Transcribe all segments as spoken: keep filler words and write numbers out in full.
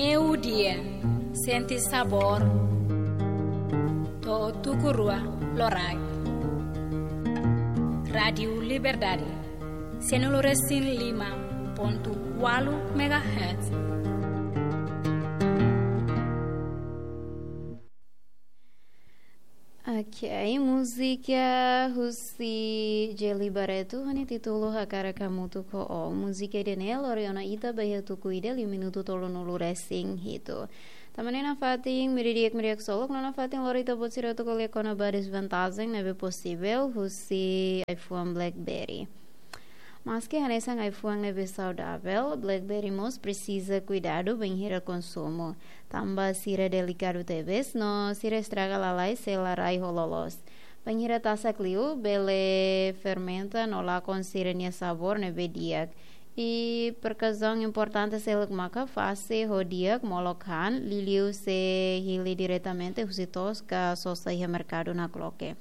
Meiudia, sente sabór. To'o tuku rua loraik. Rádiu Liberdade, sianulu resin lima pontu ualu megahertz. Ok, múzika husi Djeli Barreto, ho nia títulu Hakarak Hamutuk ho Ó. Múzika ida-ne'e lori ona ita ba iha tuku ida liu minutu tolunulu resin hitu. Tanba ne'e nafatin, meiudia di'ak, meiudia di'ak ksolok, no nafatin lori ita-boot sira atu ko'alia kona-ba dezvantajen ne'ebé posivel husi ai-fuan BlackBerry. Maski hanesan ai-fuan ne'ebé saudavel, BlackBerry mós presiza kuidadu bainhira konsumu. Tanba sira delikadu tebes, no sira estraga lalais se la rai ho loloos. Bainhira tasak liu, bele fermenta no lakon sira-nia sabór ne'ebé di'ak. I prekausaun importante seluk maka fase ho di'ak molok han, liuliu se hili diretamente husi to'os ka sosa iha merkadu nakloke.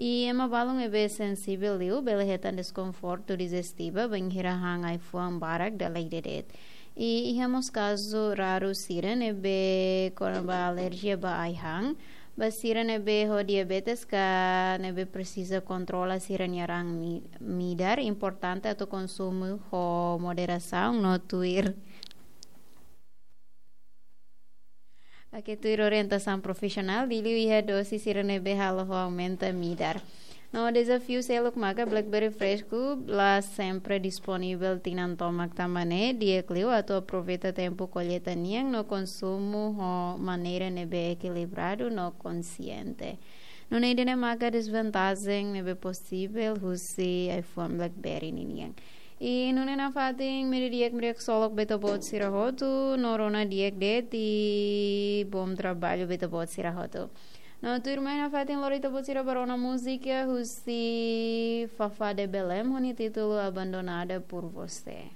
I ema balun ne'ebé sensivel liu, bele hetan deskonfortu dijestiva bainhira han ai-fuan barak dala ida de'it. I iha mós kazu raru sira ne'ebé kona-ba alerjia ba ai-han, ba sira ne'ebé ho diabetes ka ne'ebé presiza kontrola sira-nia raan mi-, midar, importante atu konsumu ho moderasaun no tuir. Ok, tuir orientasaun profisionál, liuliu iha dose sira ne'ebé halo ho aumenta midar. No dezafiu seluk maka BlackBerry fresku la sempre disponivel tinan tomak, tanba ne'e di'ak liu atu aproveita tempu kolleita nian no konsumu ho maneira ne'ebé ekilibradu no konsiente. Nune'e ida-ne'e maka dezvantajen ne'ebé posivel husi ai-fuan BlackBerry ninian. I nune'e nafatin, meiudia di'ak, meiudia di'ak ksolok ba ita-boot sira hotu, no rona di'ak de'it, i bom trabalho ba ita-boot sira hotu. No tuirmai nafatin lori ita-boot sira ba rona múzika husi Fafá de Belém, ho nia títulu Abandonada por Você.